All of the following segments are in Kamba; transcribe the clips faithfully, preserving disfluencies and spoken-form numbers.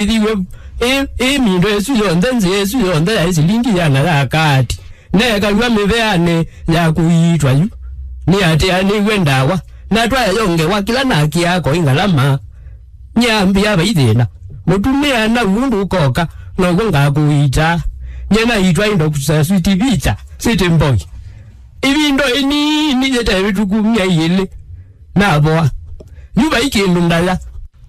Ĩthiwe ĩ, ĩ mĩndo ĩsu yonthe, nzĩa ĩsu yonthe yaĩ silingi ĩana ya kaati. Neekalw'a mĩveanĩ ya kũiitwa yu, nĩatĩanĩw'e ndawa, na twayongewa kĩla nakĩaa koĩ ngalama. Nyambĩa vai thĩna. Mũtumĩa na ũndũ ũkoka, now'o ngakũiitaa. Nye naitwa indo kũsa Sweet Pizza, City Boy. Ĩvinda ĩnini yĩte ĩvĩtũku myei ĩlĩ, navoa. Yu vai kĩndũ ndaya.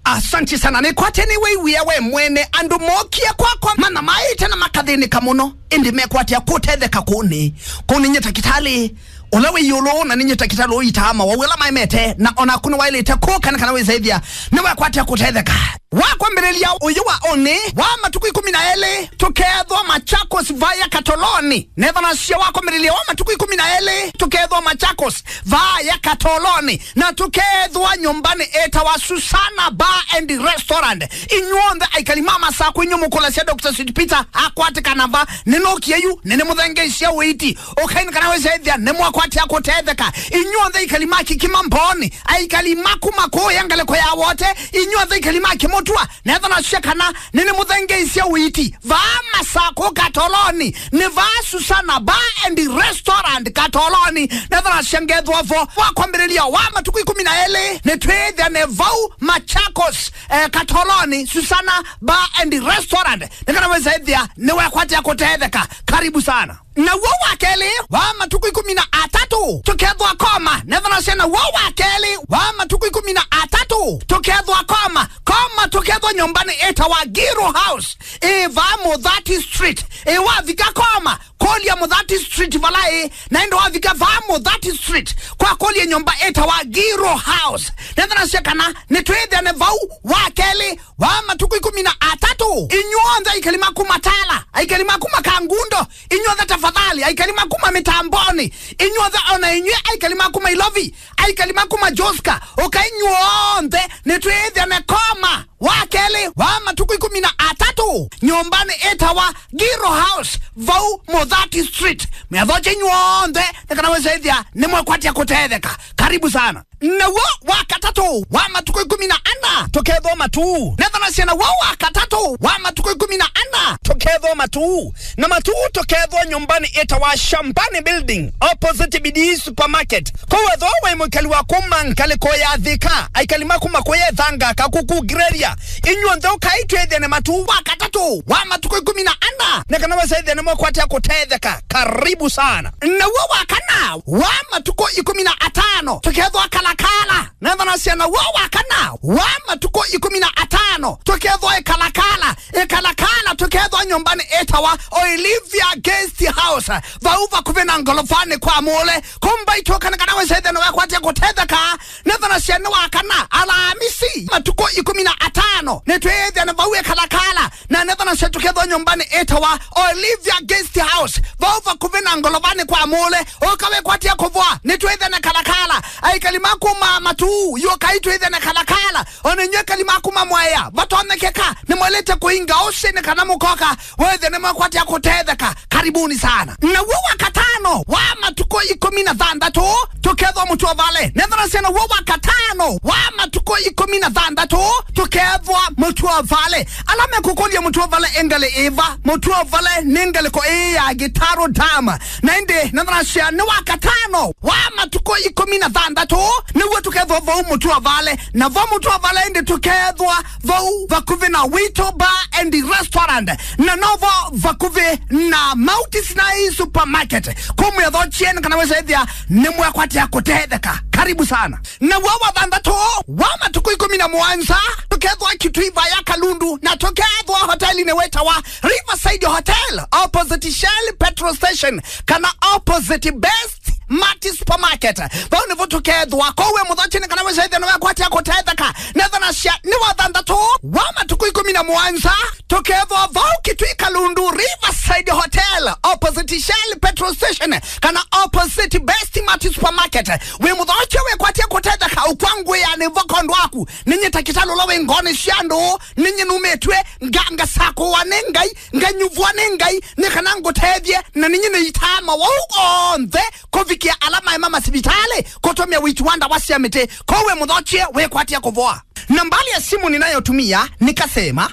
Asanti sana. Nĩkwate nĩwĩw'ĩa we mwene andũ mookie kwakwa manamaĩte na makathĩnĩka mũno, ĩndĩ mekwatĩa kũtetheka kũnĩ. Kũnĩ nye takĩtalĩ ũla wĩ ĩũlũ, na nĩ nye takĩtalĩ ũitaa mawau ala maemete, na ona kũnĩ waĩlĩte kũka nĩ kana wĩsaĩthya nĩwekwatĩa kũtetheka. Wa kwambĩlĩlya ũyũ wa ũnĩ wa matukũ ĩkũmi na elĩ, tũkeethwa Machakos vaya Katoloni. Nethanasya wa kwambĩlĩlya wa matukũ ĩkũmi na elĩ, tũkeethwa Machakos vaya Katoloni, na tũkeethwa nyũmbanĩ ĩtawa Susana Bar and Restaurant. Inyw'onthe aikali ma Masakũ, inyw'ĩ mũkũlasya Doctor Sweet Peter akwatĩkana va, nĩnũkie yu, nĩnĩmũthengeisye ũiiti. Ũkai nĩ kana wĩsaĩthya nĩmwakwatĩa kũtetheka. Inyw'onthe aikali ma Kikima Mbooni, aikali ma kuma kũũya ngalĩko ya Wote, inyw'onthe aikali ma Kĩmũtwa, nethanasya kana nĩnĩmũthengeisye ũiiti. Vaa Masakũ Katoloni, nĩ vaa Susana Bar and Restaurant Katoloni, nethanasya ngethwa vo. Wa kwambĩlĩlya wa matukũ ĩkũmi na elĩ, nĩtwĩthĩane vau Machakos, eh, Katoloni, Susana Bar and Restaurant, nĩ kana wĩsaĩthya nĩwekwatĩa kũtetheka. Karibu sana. Naw'o wa kelĩ wa matukũ ĩkũmi na atatũ, tũkethwa Koma. Nethanasya naw'o wa kelĩ wa matukũ ĩkũmi na atatũ, tũkethwa Koma. Koma tũkethwa nyũmbanĩ ĩtawa Giro House, ĩ vaa Mũthati Street. Ĩ wavika Koma, kũlya Mũthati Street vala ĩ, na ĩndĩ wavika vaa Mũthati Street, kwa kũlya nyũmba ĩtawa Giro House. Nethanasya kana nĩtwĩthĩane vau wa kelĩ wa matukũ ĩkũmi na atatũ. Inyw'onthe aikali ma kuma Tala, aikali ma kuma Kangundo, inyw'onthe tafadhali, aikali ma kuma Mĩtamboni, inyw'onthe ona inyw'ĩ aikali ma kuma Ilovi, aikali ma kuma Joska, ũkai inyw'onthe nĩtwĩthĩane Koma wa kelĩ wa matukũ ĩkũmi na atatũ, nyũmbanĩ ĩtawa Giro House, vau Mũthati Street. Mwĩathokye inyw'onthe nĩ kana wĩsaĩthya nĩmwekwatya kũtetheka. Karibu sana. Naw'o wa katatũ wa matukũ ĩkũmi na ana tũkethwa Matuu. Nethanasya naw'o wa katatũ wa matukũ ĩkũmi na ana tũkethwa Matuu. Na Matuu tũkethwa nyũmbanĩ ĩtawa Shambani Building, opposite Bidii Supermarket. Kwoou ethĩwa wĩ mũikali wa kuma ngalĩko ya Thika, aikali ma kuma kũya Ĩthanga, Kakuku, Greria, inyw'onthe ũkai twĩthĩane Matuu wa katatũ wa matukũ ĩkũmi na ana nĩ kana wĩsaĩthya nĩmwekwatya kũtetheka. Karibu sana. Naw'o wa kana wa matukũ ĩkũmi na atano tũkethwa Kalakala. Nethanasya naw'o wa kana wa matukũ ĩkũmi na atano tũkethwa ĩ Kalakala. Ĩ Kalakala tũkethwa nyũmbanĩ ĩtawa Olivia Guest House, vau vakuvĩ na ngolovanĩ kwa Mũle. Kumbai tũka nĩ kana wĩsaĩthya nĩwekwatya kũtetheka. Nethanasya nĩ wa kana Alamisi matukũ ĩkũmi na atano nĩtwĩthĩane vau ĩ Kalakala. Na nethanasya tũkethwa nyũmbanĩ ĩtawa Olivia Guest House, vau vakuvĩ na ngolovanĩ kwa Mũle. Ũka wĩkwatya kũvoa, nĩtwĩthĩane Kalakala. Aikali ma kuma Matuu, yũkai twĩthĩane Kalakala. Ona inyw'ĩ aikali ma kuma Mwea, vatonyekeka, nĩmwaĩlĩte kũinga ũsĩ nĩ kana mũkoka, wĩthĩe nĩmwekwatya kũtetheka. Karibuni sana. Naw'o wa katano wa matukũ ĩkũmi na thanthatũ tũkethwa Mũtũa Vale. Nethanasya naw'o wa katano wa matukũ ĩkũmi na thanthatũ tũkethwa Mũtũa Vale. Ala mekũkũlya Mũtũa Vale ĩ ngalĩ ĩva, Mũtũa Vale nĩ ngalĩko ĩĩ ya Gĩtarũ Dam. Na ĩndĩ nethanasya nĩ wa katano wa matukũ ĩkũmi na thanthatũ nĩw'o tũkethwa vau Mũtũa Vale. Na vo Mũtũa Vale ĩndĩ tũkethwa vau vakuvĩ na Wito Bar and Restaurant, na novo vakuvĩ na Mount Sinai Supermarket. Kũu mwĩathokye nĩ kana wĩsaĩthya nĩmwekwatya kũtetheka. Karibu sana. Naw'o wa thanthatũ wa matukũ ĩkũmi na mũonza tũkethwa Kitui vaya Kalundu, na tũkethwa hotelinĩ wĩtawa Riverside Hotel, opposite Shell petrol station, kana opposite Best Mart Supermarket. Vau nĩvo tũkethwa. Kwoou wĩ mũthokye nĩ kana wĩsaĩthya nĩwekwatya kũtetheka. Nethanasya nĩ wa thanthatũ wa matukũ ĩkũmi na mũonza tũkethwa vau Kitui Kalundu, Riverside Hotel, opposite Shell petrol station, kana opposite Best Mart Supermarket. Wĩ mũthokye wĩkwatya kũtetheka, ũkwangwĩa nĩ vo kondo waku. Nĩ nyie takĩtalĩ ũla wĩ ngoonĩ sya andũ, nĩ nyie numĩtw'e nga-, ngasakũwa nĩ Ngai, nganyuvwa nĩ Ngai, nĩ kana ngũtethye, na nĩ nyie nĩitaa mawau onthe kũvikĩa ala maema masivitalĩ kũtũmĩa ũiiti wa ndawa sya mĩtĩ. Kwoou wĩ mũthokye wĩkwatya kũvoa. Nambali ya simu ninayotumia nikasema,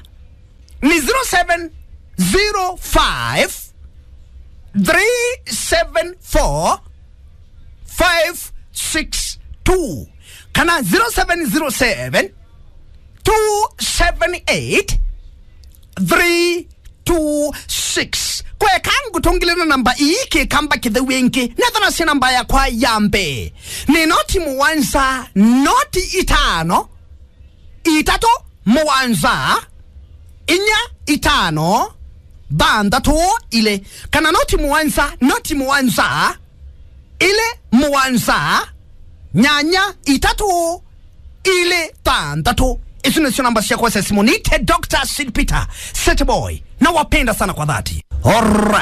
Nĩ zero seven zero five, three seven four, five six two kana zero seven zero seven, two seven eight, three two six. Kweka ngũtũngĩle na namba ii kĩkamba kĩtheu ĩngĩ. Nethanasya namba yakwa ya mbee. Nĩ noti mũwanza, noti itano, itatũ mũwanza, inya itano, thanthatũ ilĩ. Kana noti mũwanza, noti mũwanza, ilĩ mũwanza, nyanya itatũ, ilĩ thanthatũ. Isu nĩsyo namba syakwa sya simũ. Nite Doctor Sid Peter, Set Boy. Nawapenda sana kwa dhati. Alright.